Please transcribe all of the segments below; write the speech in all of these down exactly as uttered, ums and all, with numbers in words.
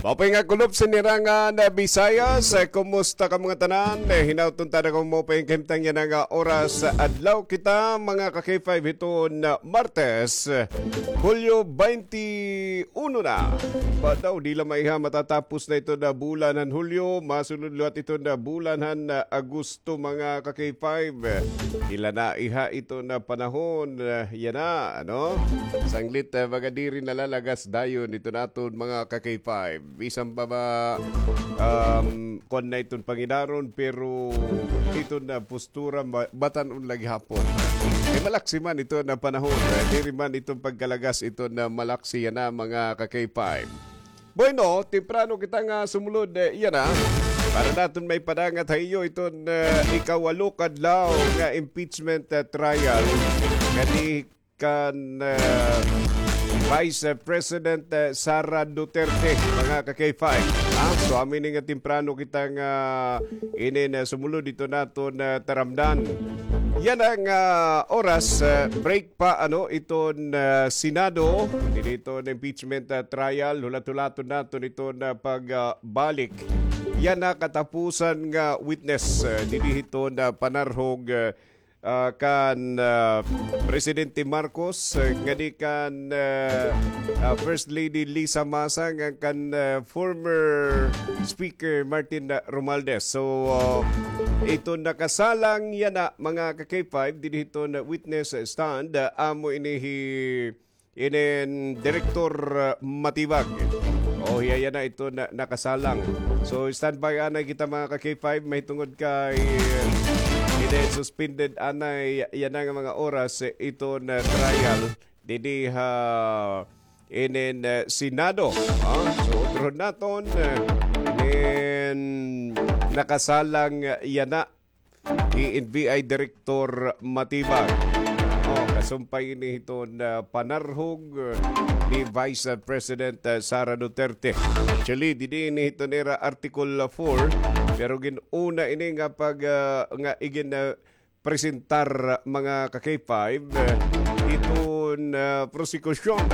Maupay nga kulop sini nga Visayas. Eh, kumusta kamo ngatanan? Eh, hinaot unta kamo maupay nga kahimtang yana nga oras. Adlaw kita, mga ka-K five, hiton Martes, Hulyo twenty-one na. Ba daw, di la maiha matatapos na iton bulan han Hulyo, masunod liwat iton bulan han Agosto, mga ka-K five. Di la naiha iton panahon, eh, yana, ano? Sanglit, eh, baga diri nalalagas dayon iton aton, mga ka-K five. Bisan pa ba, um, kuan na iton pangidaron, pero iton postura, ma-, batan-on la gihapon. Kay malaksi man iton panahon, eh, diri man iton pagkalagas iton malaksi yana, mga ka-K five. Bueno, temprano kita nga sumulod, eh, yana. Para naton maipadangat ha iyo iton, eh, ikawalo ka adlaw nga impeachment, eh, trial. Kani kan, eh, Vice President, eh, Sara Duterte, mga ka-K five. Ha? So, amo ini nga temprano kita nga inin, eh, sumulod iton aton, eh, taramdan. Yana nga oras, eh, break pa, ano, iton, eh, Senado, dinhi iton impeachment, eh, trial, hulat-hulaton naton iton, eh, pag, ah, balik. Yana katapusan nga witness, eh, dinhi iton, eh, panarhog, eh, ah, kan, ah, Presidente Marcos, eh, ngadi kan, eh, ah, First Lady Lisa Masa, ngan kan, eh, former Speaker Martin, ah, Romualdez. So, ah, iton nakasalang yana, mga ka-K five, dinhi iton witness stand, ah, amo ini hi inin Direktor, ah, Matibag. O, hiya yana iton nakasalang. So, standby anay kita, mga ka-K five, mahitungod kay, ah, inin suspended anay yana nga mga oras, eh, iton, ah, trial dinhi ha inin, ah, Senado. Ah, so, utrohon naton, ah, inin nakasalang yana hi N B I Director Matibag. O, kasumpay ini hiton, ah, panarhog, ah, ni Vice President, ah, Sara Duterte. Actually, didi ini hiton ira Article four, pero gin-una ini nga pag, ah, nga igin, ah, presentar, mga ka-K five, ah, hiton, ah, prosekusyon.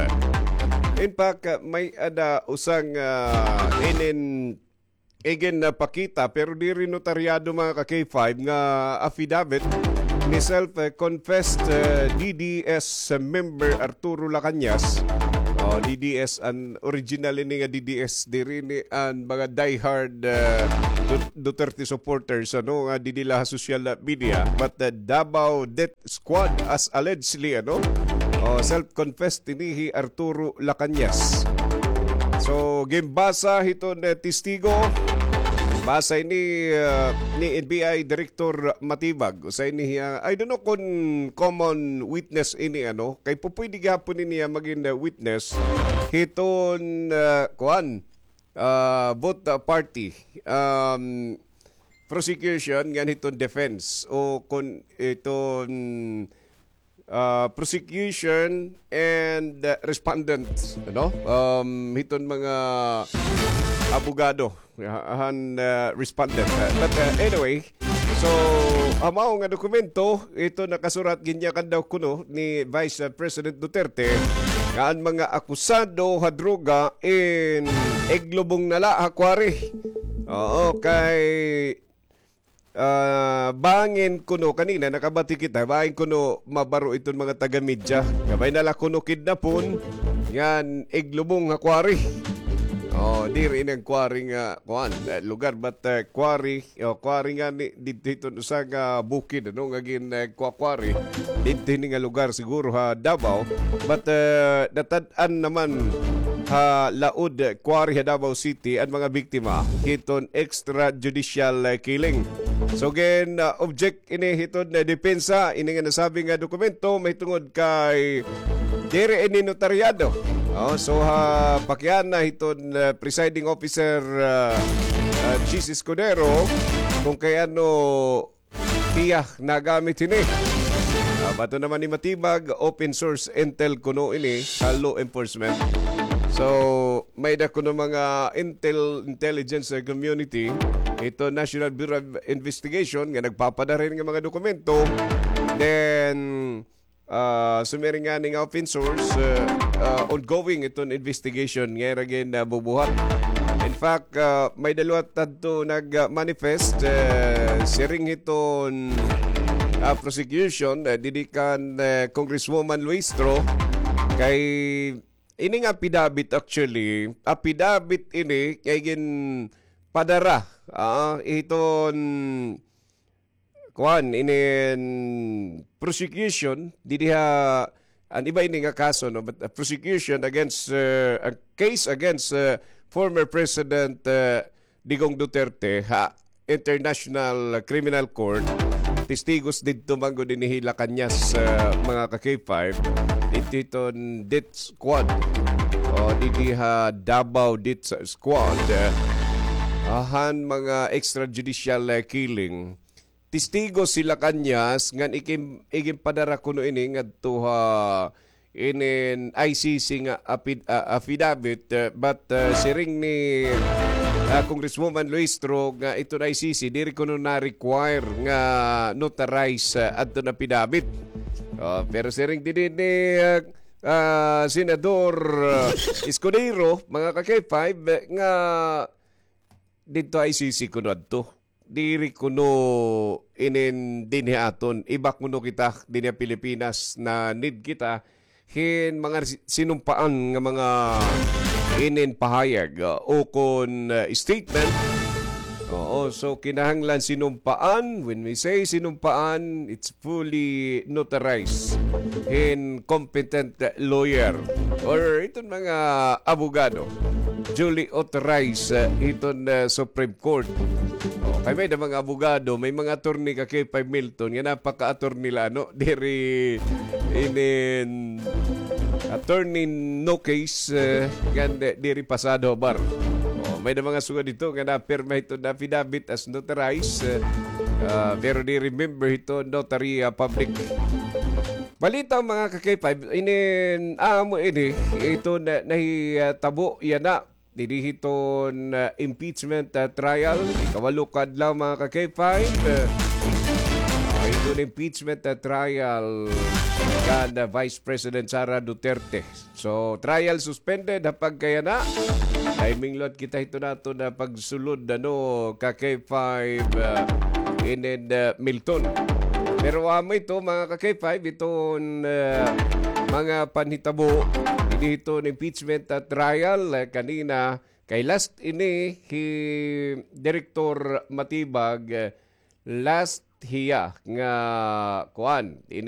In fact, ah, may-ada usa nga, ah, inin iginpakita, pero diri notaryado, mga ka-K five, nga affidavit ni self-confessed, eh, D D S member Arturo Lacañas. O, D D S an original ini nga D D S, diri ini an mga diehard, eh, Du-, Duterte supporters, ano, nga didi la ha social media, but the Davao Death Squad, as allegedly, ano? O, self-confessed ini hi Arturo Lacañas. So, ginbasa hiton, eh, testigo. Basa ini, ah, ni N B I Director Matibag. Usa ini, ah, I don't know kon common witness ini, ano? Kay pupwede gihapon ini, ah, magin, ah, witness hiton, ah, kuan, ah, both, ah, party. Um, prosecution ngan hiton defense o kon iton, ah, prosecution and, ah, respondent, ano? Um, hiton mga abogado, ah, han, ah, respondent. Ah, but, ah, anyway, so, amo nga dokumento, ito nakasurat, ginyakan daw kuno ni Vice, ah, President Duterte nga an mga akusado ha droga in iglubong na la ha quarry. Oo, kay, ah, bangin kuno kanina nakabati kita, bangin kuno mabaro iton mga taga-media. Kabay na la kuno kidnapon, ngan iglubong ha quarry. Oh, diri ini an quarry nga, kuan, eh, lugar, but, eh, quarry, oh, quarry ngani, didto hiton usa nga bukid, ano, nga gin, eh, kwa-quarry. Didto hini nga lugar siguro ha Davao, but, eh, natad-an naman ha Laod Quarry ha Davao City an mga biktima hiton extrajudicial, eh, killing. So, gin, ah, object ini hiton, eh, depensa, ini nga nasabi nga dokumento mahitungod kay diri ini notaryado. Oh, so, ha pakiana hiton, eh, presiding officer, ah, ah, Chiz Escudero, kon kay ano hiya nagamit hini. Ah, bato naman ni Matibag, open source intel kuno ini sa law enforcement. So, may-ada kuno mga intel, intelligence, eh, community, ito National Bureau of Investigation nga nagpapadara hini nga mga dokumento. Then, Ah, sumiring ngani nga open source, ah, ah, ongoing iton investigation nga ira gin, ah, bubuhat. In fact, ah, may-ada liwat adto nag-manifest, ah, siring hiton, ah, prosecution, ah, didi kan, ah, Congresswoman Luistro kay ini nga affidavit, actually, affidavit ini kay ginpadara, ah, hiton kuan, inin prosecution, didi ha, an iba ini nga kaso, no? But, uh, prosecution against, uh, a case against, uh, former President, uh, Digong Duterte ha International Criminal Court. Testigos didto man gud ini hi Lacañas, uh, mga ka-K five. Didto hiton death squad. O, didi ha Davao death squad. Uh, ahan mga extrajudicial, uh, killing. Testigo si Lacañas ngan ikin-, iginpadara kuno ini ngadto ha inin I C C nga apid-, ah, affidavit, eh, but, eh, siring ni, ah, Congresswoman Luistro nga iton I C C diri kuno na-require nga notarize, eh, adton affidavit. Ah, pero siring didi ni, ah, ah, Senador, ah, Escudero, mga ka-K five, eh, nga didto I C C kuno adto. Diri kuno inin dinhi aton. Iba kuno kita dinhi ha Pilipinas, na-need kita hin mga si-, sinumpaan nga mga inin pahayag, uh, ukon, uh, statement. Oo, so kinahanglan sinumpaan. When we say sinumpaan, it's fully notarized hin competent lawyer or iton mga abogado, duly authorized, uh, hiton, uh, Supreme Court. O, kay may-ada mga abogado, may mga attorney ka K five Milton nga napaka-attorney la, no? Diri inin attorney no case, uh, ngan di-, diri pasado ha bar. O, may-ada mga sugad didto nga napirma hiton affidavit as notarized, uh, uh, pero diri member hiton notary, uh, public. Balita, mga ka-K five, inin amo ini, ito na, nahitabo yana didi hiton, uh, impeachment, uh, trial. Ikawalo ka adlaw, mga ka-K five. Uh, iton impeachment, uh, trial kan, uh, Vice President Sara Duterte. So, trial suspended ha pagkayana. Timing liwat kita hiton aton pagsulod, ano, ka K five, uh, inin, uh, Milton. Pero amo ito, mga ka K five, iton, uh, mga panhitabo didi hiton impeachment, uh, trial, uh, kanina, kay last ini hi Director Matibag, uh, last hiya nga kuan, ini